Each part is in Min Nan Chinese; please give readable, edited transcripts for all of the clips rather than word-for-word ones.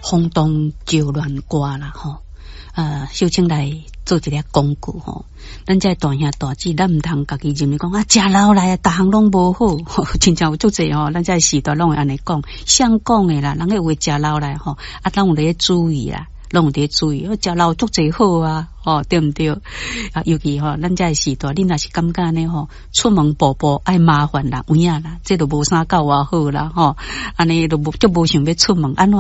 轟動就亂歌啦吼。秀清來做一个廣告吼，咱這大兄大姊，咱毋通家己認為講啊，食老來啊，逐項攏無好，親像有足濟吼，咱這時代攏會按呢講，誰講的啦，人家有的食老來吼，啊，攏有咧注意啦，攏有佇注意，食老足濟好啊，吼，對毋對？啊，尤其吼，咱這時代，你若是感覺按呢吼，出門步步愛麻煩啦，有影啦，這都無啥夠偌好啦，吼，按呢都無足無想欲出門，按怎？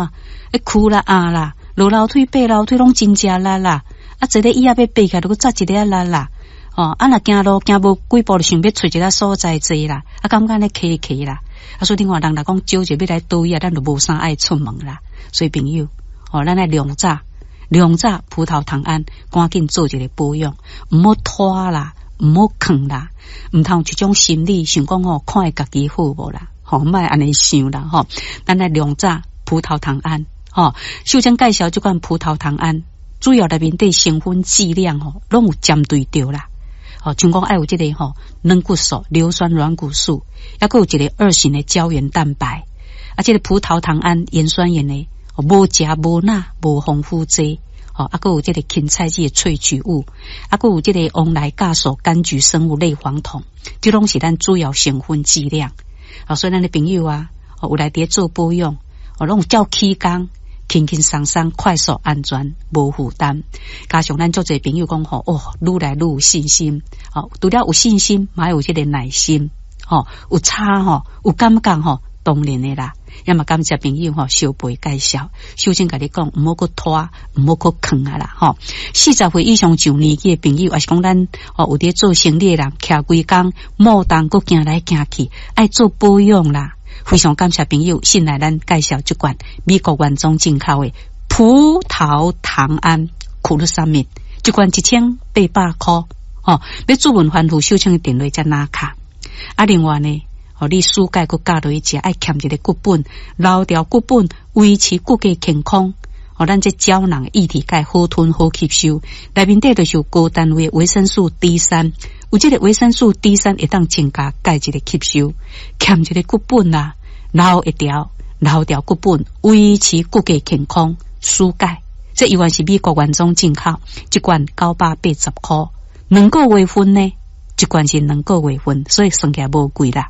欸，跍啦壓啦，落樓梯爬樓梯攏真食力啦，啊，坐咧椅仔欲爬起來，閣扎一个力啦，吼，啊，若行路行無幾步就想欲揣一个所在坐啦，啊，感覺按呢騎騎啦，啊，所以你看人若講招一欲來倒椅啊，咱就無啥愛出門啦。所以朋友，吼，咱愛量早量早葡萄糖胺，趕緊做一个保養，毋好拖啦，毋好囥啦，毋通有一種心理想講吼，看會家己好無啦，吼，莫按呢想啦，吼，咱愛量早葡萄糖胺。吼，秀珍介紹這款葡萄糖胺，主要內面底成分劑量吼，攏有針對著啦。吼，像講愛有這个吼軟骨素、硫酸軟骨素，抑閣有一個二型的膠原蛋白。啊，這个葡萄糖胺鹽酸鹽呢，無鈉無鈉無防腐劑。吼，啊，閣有這个芹菜籽的萃取物，啊，閣有這个黃來酵素柑橘生物類黃酮，這攏是咱主要成分劑量。啊，所以咱的朋友啊，有來佇咧做保養，哦，攏有照起工。輕輕鬆鬆、快速、安全、無負擔。加上咱足濟朋友講吼，哦，愈來愈有信心。吼，除了有信心，嘛有這个耐心。吼，有差吼，有感覺吼，當然的啦。也嘛感謝朋友吼，相陪介紹。秀珍共你講，毋好閣拖，毋好閣囥啊啦吼。40歲以上上年紀的朋友，抑是講咱吼有佇做生理的人，徛規工，摩動閣行來行去，愛做保養啦。非常感謝朋友信賴咱介紹這款美國原裝進口的葡萄糖胺苦魯三蜜，這罐1800塊，吼，欲諮問番號秀清的電話才拿卡。啊，另外呢，吼，你舒鈣閣加落去食，愛欠一个骨本，留牢骨本，維持骨骼健康。吼，咱這膠囊液體鈣好吞好吸收，內面底就是有高單位維生素 D 三，有這个維生素 D 三會當增加鈣質的吸收，欠一个骨本啦，留會牢，留牢骨本，維持骨骼健康。舒鈣，這猶原是美國原裝進口，這罐980塊，兩個月份呢，這罐是兩個月份，所以算起來無貴啦。